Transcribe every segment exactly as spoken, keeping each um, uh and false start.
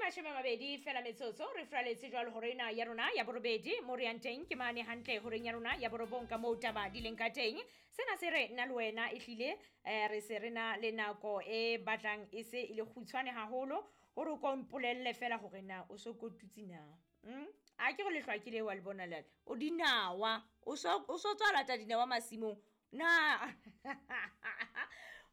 Mashome a mabedi fela metsotso re fraletse jwalo hore ena ya rona ya borobedi mo re yang teng ke mane hantle horeng ya rona ya borobong ka moo taba di leng ka teng. Sena se re nna le wena ehlile um re se re na le nako e batlang e se e le kgutshwane haholo hore o ko mpolelle fela hore na o so kotutse na. Mm? A ke re lehlwa ke le wa le bona lale o dinawa o so o so tswa lata dinawa masimong na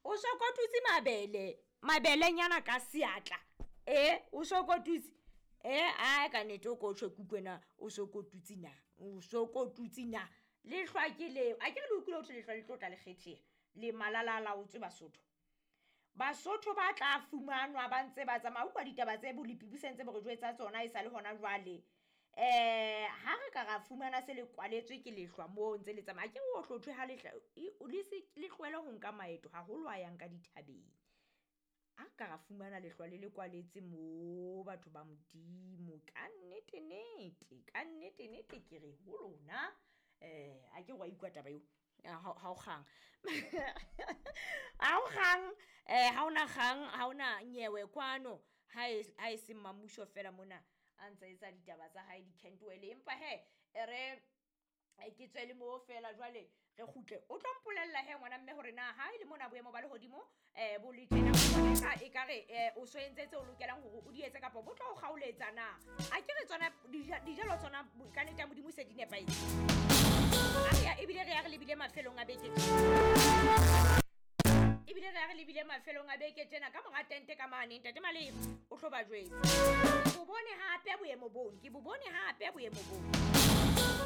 o so kotutse mabele mabelenyana ka seatla e o so kotutse e ae ka nnete o ko tjho ke utlwe na o so kotutse na o so kotutse na lehlwa ke leo a ke re le utlwile hothwe lehlwa le tlo tla le kgetheha le malala a laotswe Basotho. Basotho ba tla fumanwa ba ntse ba tsamaya utlwa ditaba tse bolepi bo sentse bo re jwetsa tsona e sale hona jwale. Eh ha re ka ra fumana se le kwaletswe ke lehlwa moo ntse le tsamaya ke o hlothwe ha lehla le se le tlohele ho nka maeto haholo a yang ka dithabeng. A ka ra fumana lehlwa le le kwaletse mo batho ba Modimo ka nnete nete ka nnete nete ke re ho lona eh a ke wa utlwa taba eo ha o kgang ha o kgang eh ha ona kgang ha ona nyewe kwano ha e ha e se mmamuso fela mona a ntse etsa ditaba tsa hae di-cantwell empa hee e re ke tswe le mo fela jwale re kgutle o tlo mpolella he ngwana mme hore na ha e le mona boemo ba lehodimo um bo le tjena o e kare um o so entse tse o lokelang hore o di etse kapa bo tlo o kgaoletsa na. A ke re tsona dijalo tsona ka nnete ya Modimo se di nepahetse. A ebile re ya re lebile mafelong a beke ebile re ya re lebile mafelong a beke tjena ka mora tente ka mane ntate Malebo o tlo ba jwetsa. Ke bo bone hape boemo bone ke bo bone hape boemo bone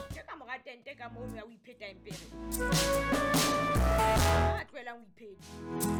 ke ka mora tente ka mono ya ho ipheta empere a tlohelang ho ipheta.